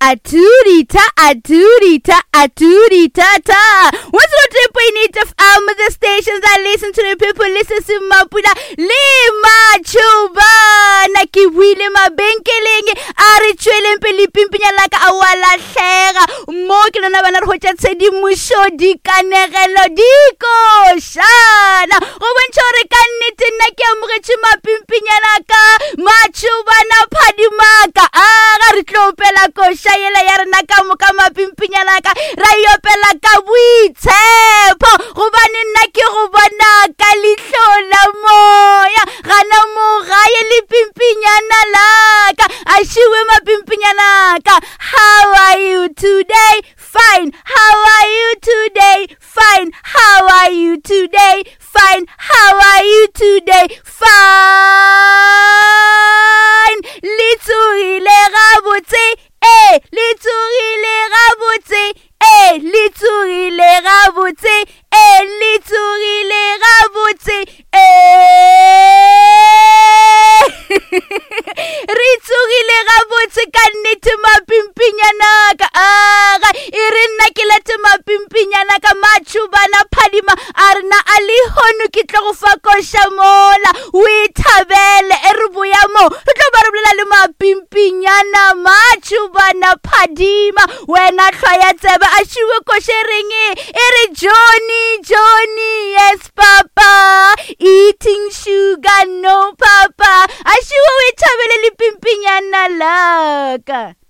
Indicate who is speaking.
Speaker 1: A tudita, a tudita, a tudita ta. 103.8 FM, the station that listen to the people, listen to Mapula le Machubana. Ke buile mabenkeleng a re tšweleng pele pimpinya la ka a wa lahlega. Mo ke lona bana re hwetša tshedimošo, dikanegelo, dikošana. Go bontšha gore ka nnete nna ke amogetše mapimpinyana ka matšhobana phadimaka. A ga re tlo opela koša yela ya rena ka moka mapimpinyana ka ra e opela ka boitshepo gobane nna ke go bona ka leihlo la moya gana mo gae le pimpinyana laka a šiwe mapimpinyana ka. How are you today? Fine. How are you today? Fine. How are you today? Fine. How are you today? Fine. Le tsogile gabotse. Eh, le tsogile gabotse. Eh, le tsogile gabotse. Eh, le tsogile gabotse. Eh. Re tsogile gabotse ka nnete mapimpinyanaka. Aga, e re nna ke late mapimpinyanaka matšhobana phadima a rena a lehono ke tlo go fa koša mola o e thabele e re boya mo re tlo ba re bolela le mapimpinyana matšhobana phadima wena hlwa ya tsebe a šiwe koše reng e re Johnny Johnny yes papa eating sugar no papa a šiwe o e thabele le pimpinyana laka.